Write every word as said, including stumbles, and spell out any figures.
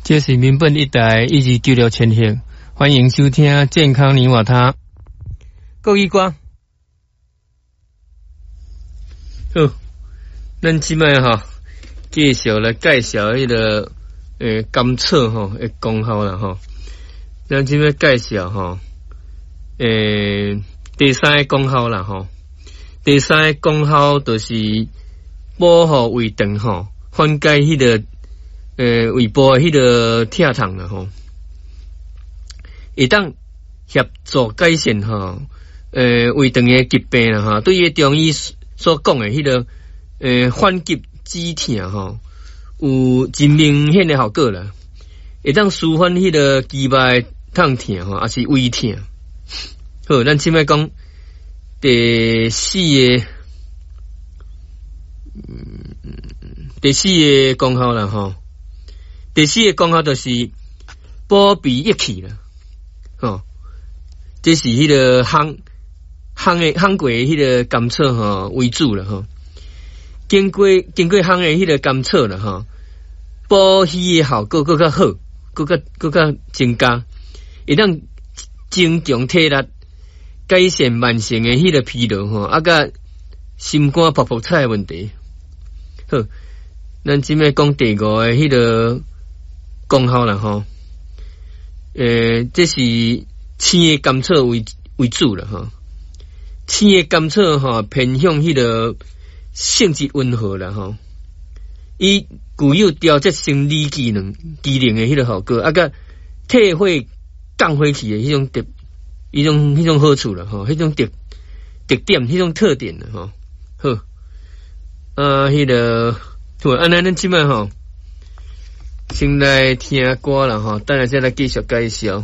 這是民本一台一二九六千赫，歡迎收聽健康你我他。國語歌，好，咱這擺吼，繼續來介紹彼個欸甘草吼的功效啦吼。咱這擺介紹吼，欸第三个功效啦吼。第三個功效就是保護胃腸吼，緩解彼個欸胃部的彼個疼痛啦吼。會當協助改善吼，欸胃腸的疾病啦吼。對於中醫所講的彼個欸緩急止痛吼，有真明顯的效果啦。會當舒緩彼個肌肉的痛疼吼，抑是胃疼。好，咱這擺講第四个，嗯，第四个功效啦吼。第四个功效就是補脾益氣啦，吼，這是彼個烘烘的烘過的彼個甘草吼為主啦吼。經過經過烘的彼個甘草啦吼，補虛的效果閣較好，閣較閣較增加，會當增強體力，改善慢性的彼個疲勞吼，啊，佮心肝噗噗彩的問題。好，咱這擺講第五个彼個功效啦吼。欸，這是青的甘草為為主啦吼。青的甘草吼，偏向彼個性質溫和啦吼。伊具有調節生理機能機能的彼個效果，啊，佮退火降火氣的彼種特，彼種彼種好處啦吼，彼種特特點，彼種特點啦吼。好，啊，彼個好，按呢咱這擺吼，先來聽歌啦吼，等下再來繼續介紹。